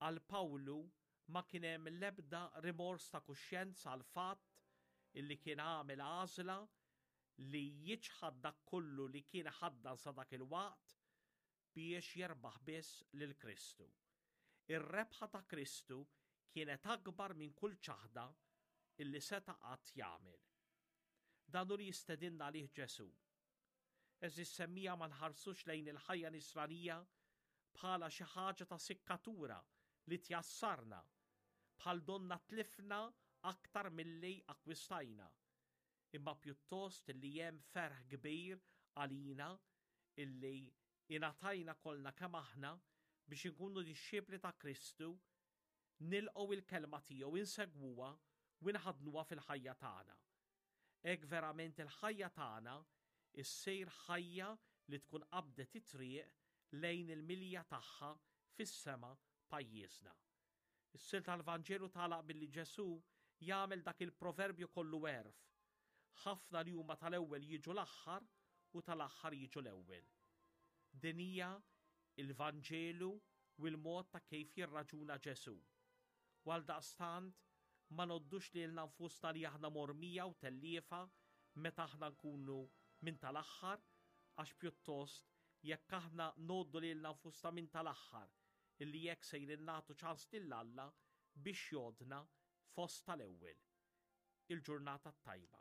Għal Pawlu ma kien hemm l-ebda rimors ta' kuxjenza għall-fatt illi kien għamel għażla li jiċħad dak kollu li kien iħaddan sa dak il-waqt biex jerbaħ biss lil Kristu. Ir-rebħa ta' Kristu kienet akbar minn kull ċaħda illi seta' qatt jagħmel. Dan hu li jistedinna għalih Ġesù. Għeżież semmiegħa ma nħarsux lejn il-ħajja nisranija bħala xi ħaġa ta' sikkatura li tjassarna, bħal donna tlifna aktar milli akkwistajna, imma pjuttost li hemm ferħ kbir għalina illi ingħatajna kollna kemm aħna biex inkunu dixxipli ta' Kristu, nilqgħu il-kelma tiegħu, insegwuha u nħaddnuha fil-ħajja tagħna. Hekk verament il-ħajja tagħna issir ħajja li tkun qabdet it-triq lejn il-milja tagħha fis-sema pajjiżna. Is-silta tal-Vanġelu tagħlaq billi Ġesù jagħmel dak il-proverbju kollu għerf. Ħafna li huma tal-ewwel jiġu l-aħħar u tal-aħħar jiġu l-ewwel. Din hija il-Vanġelu u l-mod ta' kif jirraġuna Ġesù. U għaldaqstant ma ngħoddux lilna nfusna li aħna mormija u telliefa meta aħna nkunu minn tal-aħħar, għax pjuttost jekk aħna ngħoddu lilna nfusna minn tal-aħħar, illi hekk sejrin nagħtu ċans lil Alla biex jgħoddna fost tal-ewwel. Il-ġurnata t-tajba.